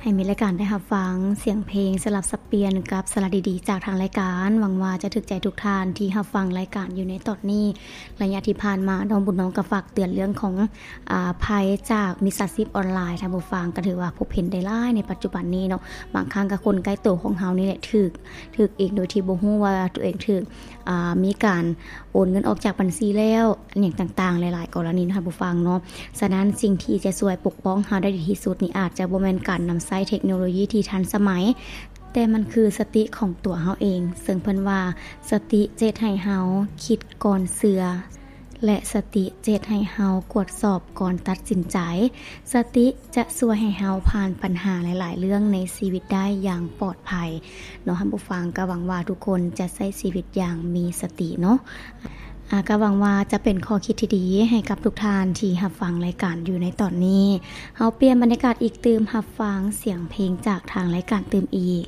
ໃຫ້ມີລາຍການໄດ້ຮັບຟັງສຽງເພງສະຫຼັບສັບປ່ຽນກັບສາລະດີໆຈາກທາງລາຍການ. ຫວັງວ່າຈະຖືກໃຈທຸກທ່ານທີ່ຮັບຟັງລາຍການຢູ່ໃນຕອນນີ້. ໄລຍະທີ່ຜ່ານມາ ນ້ອງບຸນນ້ອງກໍຝາກເຕືອນເລື່ອງຂອງ ອາ ໄພຈາກມິດສາຊີບອອນລາຍ. ທ່ານຜູ້ຟັງກໍຖືວ່າພົບເຫັນໄດ້ຫຼາຍໃນປັດຈຸບັນນີ້ເນາະ. ບາງຄັ້ງກໍຄົນໃກ້ໂຕຂອງເຮົານີ້ແຫຼະຖືກ ຖືກອີກໂດຍທີ່ບໍ່ຮູ້ວ່າຕົວເອງຖືກ ອາ ມີການໂອນເງິນອອກຈາກບັນຊີແລ້ວ ອີຫຍັງຕ່າງໆ ຫຼາຍໆກໍລະນີເນາະທ່ານຜູ້ຟັງເນາະ. ສະນັ້ນສິ່ງທີ່ຈະຊ່ວຍປົກປ້ອງເຮົາໄດ້ດີທີ່ສຸດນີ້ ອາດຈະບໍ່ແມ່ນການນຳໃຊ້ເທັກໂນໂລຢີທີ່ທັນສະໄໝ, ແຕ່ມັນຄືສະຕິຂອງຕົວເຮົາເອງ. ເຊິ່ງເພິ່ນວ່າ ສະຕິຈະເຮັດໃຫ້ເຮົາຄິດກ່ອນເຊື່ອ ແລະ ສະຕິຈະເຮັດໃຫ້ເຮົາກວດສອບກ່ອນຕັດສິນໃຈ. ສະຕິຈະຊ່ວຍໃຫ້ເຮົາຜ່ານບັນຫາຫຼາຍໆເລື່ອງໃນຊີວິດໄດ້ຢ່າງປອດໄພເນາະທ່ານຜູ້ຟັງ. ກໍຫວັງວ່າທຸກຄົນຈະໃຊ້ຊີວິດຢ່າງມີສະຕິເນາະ. ອາ ກໍຫວັງວ່າຈະເປັນຂໍ້ຄິດທີ່ດີໃຫ້ກັບທຸກທ່ານທີ່ຮັບຟັງລາຍການຢູ່ໃນຕອນນີ້. ເຮົາປ່ຽນບັນຍາກາດອີກຕື່ມ ຮັບຟັງສຽງເພງຈາກທາງລາຍການຕື່ມອີກ.